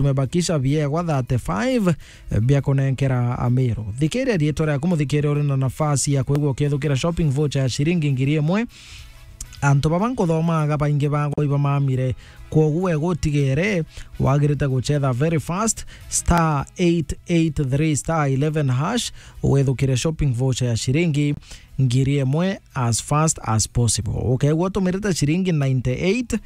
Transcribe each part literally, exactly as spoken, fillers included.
tumebakisha biegwa thirty-five, eh, bia kunenkera Amiru. Thikiria riitwa riaku, muthikiria, uri na nafasi ya kwigua ukithukira shopping voucher ya ciringi ngiri imwe. Antu baba nkuthomaga baingi bagwa ibamamire, kwogu we gutigere, wagirite guchetha very fast, star eight eight three star eleven hash, withukire shopping voucher ya ciringi ngiri imwe as fast as possible. Ukegua utumirite ciringi ninety-eight,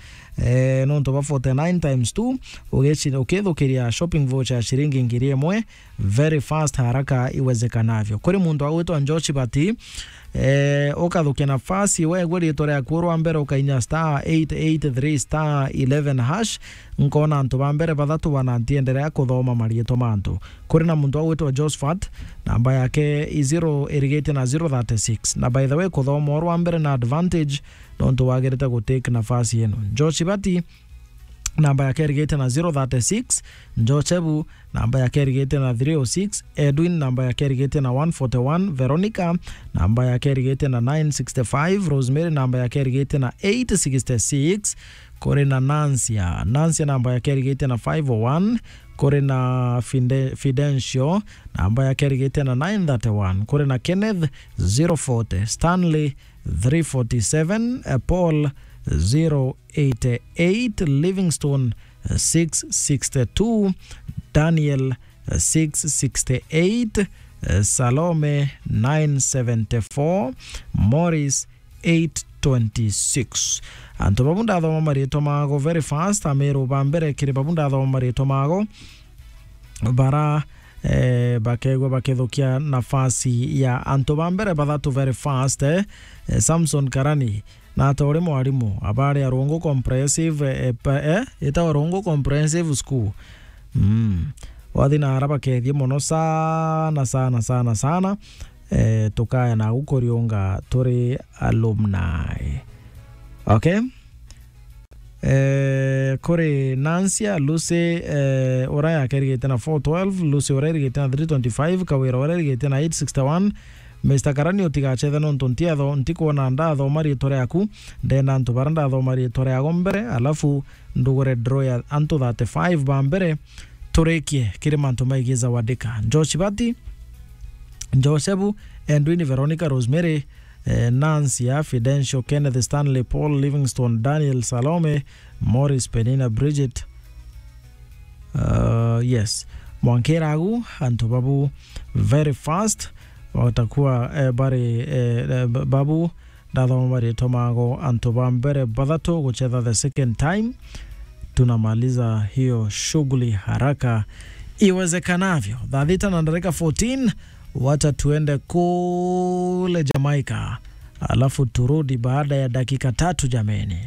eh, nontu ba forty-nine times two, ugici-, ukithukiria shopping voucher ya ciringi ngiri imwe very fast, haraka iwezekanavyo. Kuri muntu agwitwa Josh Bati, eh, ukathukia nafasi, wegwe riitwa riaku rwa mbere ukainya star eight eight three star eleven hash, nkona antu ba mbere bathatu bana ntienderea kuthoma mariitwa ma antu. Kuri na muntu agwitwa Josephat, namba yake i zero irigitie na zero thirty-six. Na by the way, kuthoma urwa mbere na advantage, nontu wagirite gutake nafasi ino. Josh Bati, namba yake irigitie na zero thirty-six. Josebu, namba yake irigitie na three oh six. Edwin, namba yake irigitie na one forty-one. Veronica, namba yake irigitie na nine sixty-five. Rosemary, namba yake irigitie na eight sixty-six. Kuri na Nansia. Nansia namba yake irigitie na five oh one. Kuri na Fide-, Fidencio, namba yake irigitie na nine thirty-one. Kuri na Kenneth, zero forty. Stanley, three forty-seven. Eh, Paul, zero eighty-eight. Livingstone, eh, six sixty-two. Daniel, eh, six sixty-eight. Eh, Salome, nine seventy-four. Morris, eight twenty-six. Antu babu ndathoma mariitwa mago very fast, Amiru ba mbere kiri babu ndathoma mariitwa mago, bara, eh, bakegwa bakithukia nafasi ya antu ba mbere bathatu very fast, eh. Eh, Samson Karani, na ata uri mwarimu, abari Arungu Comprehensive, eh, pa-, eh, itawa Arungu Comprehensive School. Mm. Wathi na ara bakethie mono sana, sana, sana, sana. Eh, tukaya nagu kuriunga turi alumni. Okay? Eh, kuri Nansia, Lucy, eh, ura yake irigite na four twelve, Lucy ura irigite na three twenty-five, Kawira ura irigite na eight sixty-one. Mister Karani, utigachethe nontu ntiatho-, ntikwona ndathoma riitwa riaku, ndenda antu bara ndathoma riitwa riago mbere, alafu ndugure draw ya antu thirty-five ba mbere, turikie kiri mantu maigi Zawadika. Josh Bati, Josebu, Edwin, Veronica, Rosemary, eh, Nancy, ah, Fidencio, Kenneth, Stanley, Paul, Livingstone, Daniel, Salome, Morris, Penina, Bridget. Uh, yes. Mwankiragu, antu babu very fast. Watakuwa, eh, bari, eh, eh, ba-, babu, ndathoma maritwa mago, antu ba mbere bathatu guchetha the second time. Tunamaliza hiyo shughuli haraka iwezekanavyo. Thaa thita na dakika fourteen, wacha tuende kule Jamaica, alafu turudi baada ya dakika tatu, jameni.